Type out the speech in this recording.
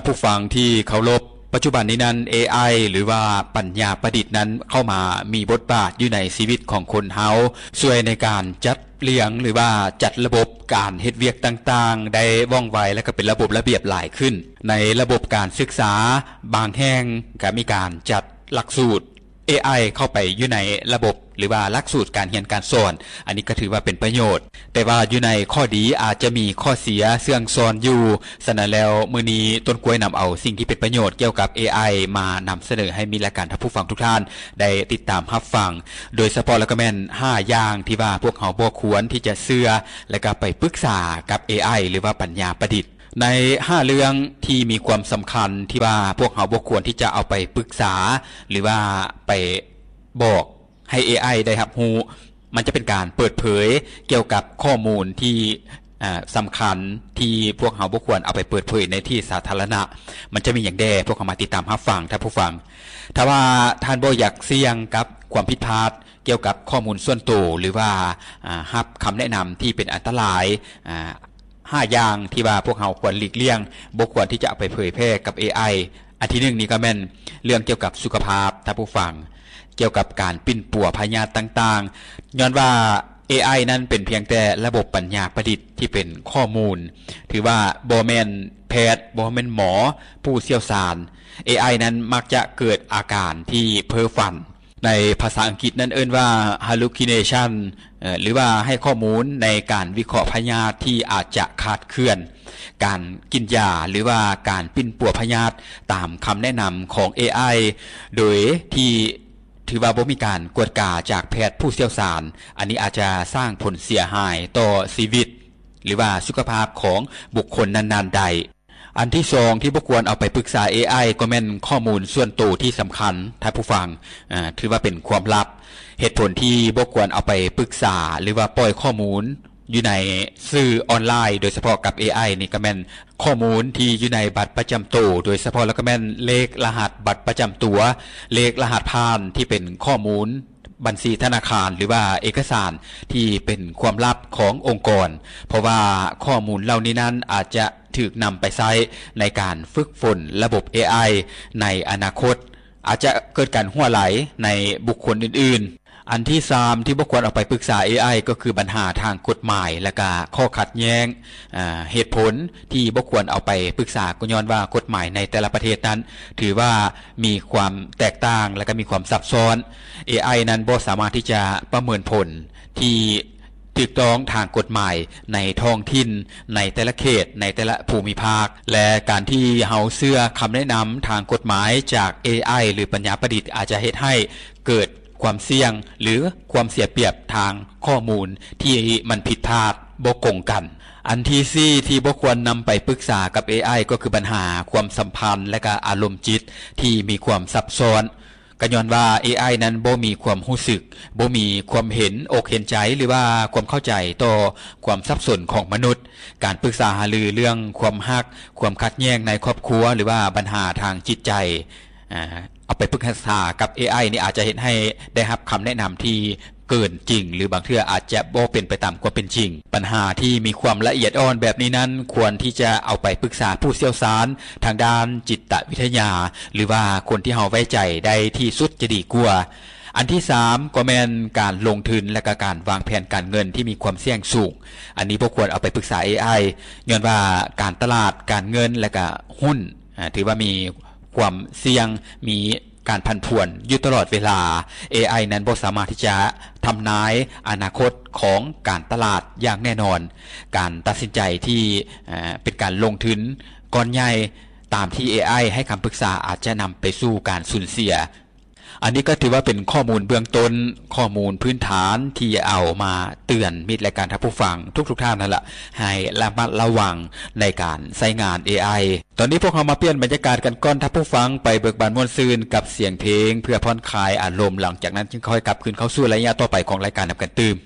ຜູ້ຟັງທີ່ເຄົາລົບ, ປັດຈຸບັນນີ້ນັ້ນ ເອໄອ ຫຼືວ່າປັນຍາປະດິດນັ້ນເຂົ້າມາມີບົດບາດຢູ່ໃນຊີວິດຂອງຄົນເຮົາ, ຊ່ວຍໃນການຈັດລຽງ ຫຼືວ່າຈັດລະບົບການເຮັດວຽກຕ່າງໆ ໄດ້ວ່ອງໄວ ແລະ ກໍເປັນລະບົບລະບຽບຫຼາຍຂຶ້ນ. ໃນລະບົບການສຶກສາບາງແຫ່ງກໍມີການຈັດຫຼັກສູດ ເອໄອ ເຂົ້າໄປຢູ່ໃນລະບົບ ຫຼືວ່າຫຼັກສູດການຮຽນການສອນ, ອັນນີ້ກໍຖືວ່າເປັນປະໂຫຍດ. ແຕ່ວ່າຢູ່ໃນຂໍ້ດີອາດຈະມີຂໍ້ເສຍເຊື່ອງຊອນຢູ່. ສະນັ້ນແລ້ວ ມື້ນີ້ຕົ້ນກ້ວຍນຳເອົາສິ່ງທີ່ເປັນປະໂຫຍດກ່ຽວກັບ ເອໄອ ມານຳສະເໜີໃຫ້ມິດ ແລະ ການທ່ານຜູ້ຟັງທຸກທ່ານໄດ້ຕິດຕາມຮັບຟັງ, ໂດຍສະເພາະແລ້ວກໍແມ່ນຫ້າຢ່າງທີ່ວ່າພວກເຮົາບໍ່ຄວນທີ່ຈະເຊື່ອ ແລະ ກໍໄປປຶກສາກັບ ເອໄອ ຫຼືວ່າປັນຍາປະດິດ. ໃນຫ້າເລື່ອງທີ່ມີຄວາມສຳຄັນທີ່ວ່າພວກເຮົາບໍ່ຄວນທີ່ຈະເອົາໄປປຶກສາ ຫຼືວ່າໄປບອກໃຫ້ ເອໄອ ໄດ້ຮັບຮູ້, ມັນຈະເປັນການເປີດເຜີຍກ່ຽວກັບຂໍ້ມູນທີ່ ເອີ ສຳຄັນທີ່ພວກເຮົາບໍ່ຄວນເອົາໄປເປີດເຜີຍໃນທີ່ສາທາລະນະ. ມັນຈະມີຫຍັງແດ່? ພວກເຮົາມາຕິດຕາມຮັບຟັງ, ທ່ານຜູ້ຟັງ. ຖ້າວ່າທ່ານບໍ່ຢາກສ່ຽງກັບຄວາມຜິດພາດ ກ່ຽວກັບຂໍ້ມູນສ່ວນໂຕ ຫຼືວ່າ ອາ ຮັບຄຳແນະນຳທີ່ເປັນອັນຕະລາຍ ອາ ຫ້າຢ່າງທີ່ວ່າພວກເຮົາຄວນຫຼີກລ່ຽງ, ບໍ່ຄວນທີ່ຈະເອົາໄປເຜີຍແຜ່ກັບ ເອໄອ. ອັນທີໜຶ່ງນີ້ກໍແມ່ນເລື່ອງກ່ຽວກັບສຸຂະພາບ, ທ່ານຜູ້ຟັງ, ກ່ຽວກັບການປິ່ນປົວພະຍາດຕ່າງໆ, ຍ້ອນວ່າ ເອໄອ ນັ້ນເປັນພຽງແຕ່ລະບົບປັນຍາປະດິດທີ່ເປັນຂໍ້ມູນ, ຖືວ່າບໍ່ແມ່ນແພດ, ບໍ່ແມ່ນໝໍຜູ້ຊ່ຽວຊານ. ເອໄອ ນັ້ນມັກຈະເກີດອາການທີ່ເພ້ຝັນ. ໃນພາສາອັງກິດນັ້ນເອີ້ນວ່າ hallucination ເອີ ຫຼືວ່າໃຫ້ຂໍ້ມູນໃນການວິເຄາະພະຍາດທີ່ອາດຈະຄາດເຄື່ອນ, ການກິນຢາ ຫຼືວ່າການປິ່ນປົວພະຍາດຕາມຄຳແນະນຳຂອງ ເອໄອ ໂດຍທີ່ຖືວ່າບໍ່ມີການກວດກາຈາກແພດຜູ້ຊ່ຽວຊານ, ອັນນີ້ອາດຈະສ້າງຜົນເສຍຫາຍຕໍ່ຊີວິດ ຫຼືວ່າສຸຂະພາບຂອງບຸກຄົນນັ້ນໆໄດ້. ອັນທີສອງທີ່ບໍ່ຄວນເອົາໄປປຶກສາ ເອໄອ ກໍແມ່ນຂໍ້ມູນສ່ວນໂຕທີ່ສຳຄັນ, ທ່ານຜູ້ຟັງ, ອາ, ຖືວ່າເປັນຄວາມລັບ. ເຫດຜົນທີ່ບໍ່ຄວນເອົາໄປປຶກສາ ຫຼືວ່າປ່ອຍຂໍ້ມູນຢູ່ໃນສື່ອອນລາຍ, ໂດຍສະເພາະກັບ ເອໄອ ນີ້, ກໍແມ່ນຂໍ້ມູນທີ່ຢູ່ໃນບັດປະຈຳໂຕ, ໂດຍສະເພາະແລ້ວກໍແມ່ນເລກລະຫັດບັດປະຈຳຕົວ, ເລກລະຫັດຜ່ານທີ່ເປັນຂໍ້ມູນ ບັນຊີທະນາຄານ ຫຼືວ່າເອກະສານທີ່ເປັນຄວາມລັບຂອງອົງກອນ, ເພາະວ່າຂໍ້ມູນເຫຼົ່ານີ້ນັ້ນອາດຈະຖືກນຳໄປໃຊ້ໃນການຝຶກຝົນລະບົບ ເອໄອ ໃນອະນາຄົດ, ອາດຈະເກີດການຮົ່ວໄຫຼໃນບຸກຄົນອື່ນໆ. ອັນທີສາມທີ່ບໍ່ຄວນເອົາໄປປຶກສາ ເອໄອ ກໍຄືບັນຫາທາງກົດໝາຍ ແລະກະຂໍ້ຂັດແຍ້ງ. ອາ, ເຫດຜົນທີ່ບໍ່ຄວນເອົາໄປປຶກສາ ກໍຍ້ອນວ່າກົດໝາຍໃນແຕ່ລະປະເທດນັ້ນ ຖືວ່າມີຄວາມແຕກຕ່າງ ແລະກະມີຄວາມຊັບຊ້ອນ. ເອໄອ ນັ້ນບໍ່ສາມາດທີ່ຈະປະເມີນຜົນທີ່ຖືກຕ້ອງທາງກົດໝາຍໃນທ້ອງຖິ່ນ, ໃນແຕ່ລະເຂດ, ໃນແຕ່ລະພູມິພາກ ແລະ ການທີ່ເຮົາເຊື່ອຄຳແນະນຳທາງກົດໝາຍຈາກ ເອໄອ ຫຼື ປັນຍາປະດິດ ອາດຈະເຮັດໃຫ້ເກີດຄວາມສ່ຽງ ຫຼື ຄວາມເສຍປຽບທາງຂໍ້ມູນທີ່ມັນຜິດພາດ, ບໍ່ກົງກັນ. ອັນທີສີ່ທີ່ບໍ່ຄວນນຳໄປປຶກສາກັບ ເອໄອ ກໍຄືບັນຫາຄວາມສຳພັນ ແລະກະອາລົມຈິດທີ່ມີຄວາມຊັບຊ້ອນ, ກໍຍ້ອນວ່າ ເອໄອ ນັ້ນບໍ່ມີຄວາມຮູ້ສຶກ, ບໍ່ມີຄວາມເຫັນອົກເຫັນໃຈ ຫຼືວ່າຄວາມເຂົ້າໃຈຕໍ່ຄວາມສັບສົນຂອງມະນຸດ. ການປຶກສາຫາລືເລື່ອງຄວາມຮັກ, ຄວາມຂັດແຍ່ງໃນຄອບຄົວ ຫຼືວ່າບັນຫາທາງຈິດໃຈ, ອາ, ເອົາໄປປຶກສາກັບ ເອໄອ ນີ້ອາດຈະເຮັດໃຫ້ໄດ້ຮັບຄຳແນະນຳທີ່ເກີນຈິງ ຫຼື ບາງເທື່ອອາດຈະບໍ່ເປັນໄປຕາມຄວາມເປັນຈິງ. ບັນຫາທີ່ມີຄວາມລະອຽດອ່ອນແບບນີ້ນັ້ນ ຄວນທີ່ຈະເອົາໄປປຶກສາຜູ້ຊ່ຽວຊານທາງດ້ານຈິດຕະວິທະຍາ ຫຼືວ່າຄົນທີ່ເຮົາໄວ້ໃຈໄດ້ທີ່ສຸດຈະດີກວ່າ. ອັນທີສາມກໍແມ່ນການລົງທຶນ ແລະກະການວາງແຜນການເງິນທີ່ມີຄວາມສ່ຽງສູງ. ອັນນີ້ບໍ່ຄວນເອົາໄປປຶກສາ ເອໄອ ຍ້ອນວ່າການຕະຫຼາດການເງິນ ແລະກະຫຸ້ນ ອາ, ຖືວ່າມີຄວາມສ່ຽງ, ມີການຜັນຜວນຢູ່ຕະຫຼອດເວລາ. ເອໄອ ນັ້ນບໍ່ສາມາດທີ່ຈະທຳນາຍອະນາຄົດຂອງການຕະຫຼາດຢ່າງແນ່ນອນ. ການຕັດສິນໃຈທີ່, ອາ, ເປັນການລົງທຶນກ້ອນໃຫຍ່ຕາມທີ່ ເອໄອ ໃຫ້ຄຳປຶກສາ ອາດຈະນຳໄປສູ່ການສູນເສຍ. ອັນນີ້ກໍຖືວ່າເປັນຂໍ້ມູນເບື້ອງຕົ້ນ, ຂໍ້ມູນພື້ນຖານທີ່ເອົາມາເຕືອນມິດ ແລະການທ່ານຜູ້ຟັງທຸກໆທ່ານນັ້ນລະ, ໃຫ້ລະມັດລະວັງໃນການໃຊ້ງານ ເອໄອ. ຕອນນີ້ພວກເຮົາມາປ່ຽນບັນຍາກາດກັນກ່ອນ, ທ່ານຜູ້ຟັງໄປເບີກບານມ່ວນຊື່ນກັບສຽງເພງ ເພື່ອຜ່ອນຄາຍອາລົມ, ຫຼັງຈາກນັ້ນຈຶ່ງຄ່ອຍກັບຄືນເຂົ້າສູ່ໄລຍະຕໍ່ໄປຂອງລາຍການນຳກັນຕື່ມ.